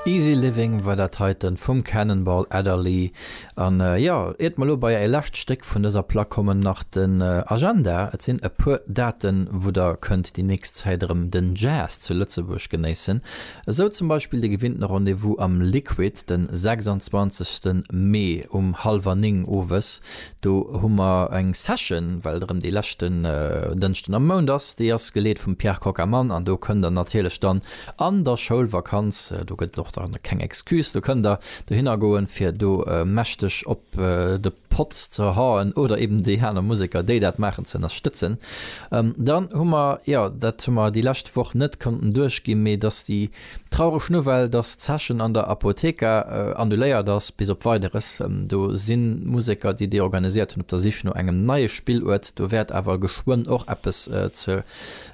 Easy Living war dat heiten vum Cannonball Adderley. An jo, iert mer elo bei är lescht Stéck vun dëser Plack kommen, nach den Agenda. Et sinn e puer Daten, wou der kënnt déi nächst Zäit erëm den Jazz zu Lëtzebuerg genéissen. Esou zum Beispill de gewinnten Rendez-vous am Liquid den 26. Mee um hallwer 9 owes. Do hu mer eng Session, well et erëm dee leschten Dënschden am Mount ass. Déi ass geleet vum Pierre Cockermann an do kënnt der natierlech dann an der Schoulvakanz, do gëtt et och dann keng Excuse, do kënnt der dohinner goen, fir do mächteg op de Potz ze haen oder eben déi aner Museker, déi dat maachen, ze ënnerstëtzen. Dann hu mer, jo, dat hu mer déi lescht Woch net konnten duerchginn, mee dass déi traureg Nouvelle, dass d'Session an der Apotheka annuléiert ass, bis op Weideres. Do si Museker, déi déi organiséiert hunn, op der Sich no engem neie Spilluert. Do wäert awer geschwënn och eppes ze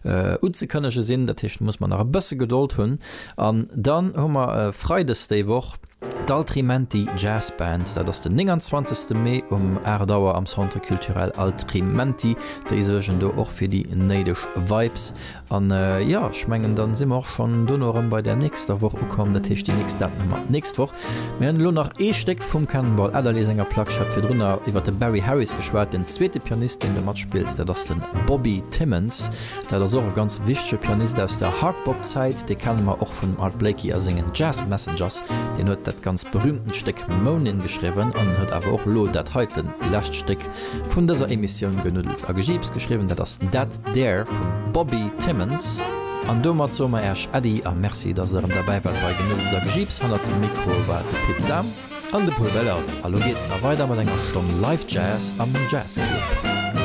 unzekënnege sinn. Dat heescht, do muss mer nach e bësse Gedold hunn. An dann hu mer freides déi Woch d'Altrimenti Jazz Band. Dat ass den 29. Mee um 8 Auer am Centre Culturel Altrimenti. Déi suergen do och fir déi néideg Vibes. An jo, ech mengen, dann si mer och schonn dono erëm bei der nächster Woch ukomm. Dat heescht, déi nächst Daten hu mer d'nächst Woch. Mir hunn elo nach ee Stéck vum Cannonball Adderley senger Plack. Ech hat virdrunner iwwer de Barry Harris geschwat. Den zweete Pianist, deen do matspillt, dat ass de Bobby Timmons. Dat ass och e ganz wichtege Pianist aus der Hardbop-Zäit. Dee kenne mer och vum Art Blakey a sengen Jazz Messengers. Deen huet dat ganz berühmtent Stéck Moanin' geschriwwen an en huet awer och elo dat heiten lescht Stéck vun dëser Emissioun Genuddels a Gejiips geschriwwen. Dat ass That There vum Bobby Timmons. An domat soe mer Äech Äddi a Merci, dass der erëm derbäi waart bei Genuddels a Gejiips. Hannert dem Mikro war de Pit Dahm. An de Pol Belardi. A lo geet et nach weider mat enger Stonn Live Jazz am Jazz Club.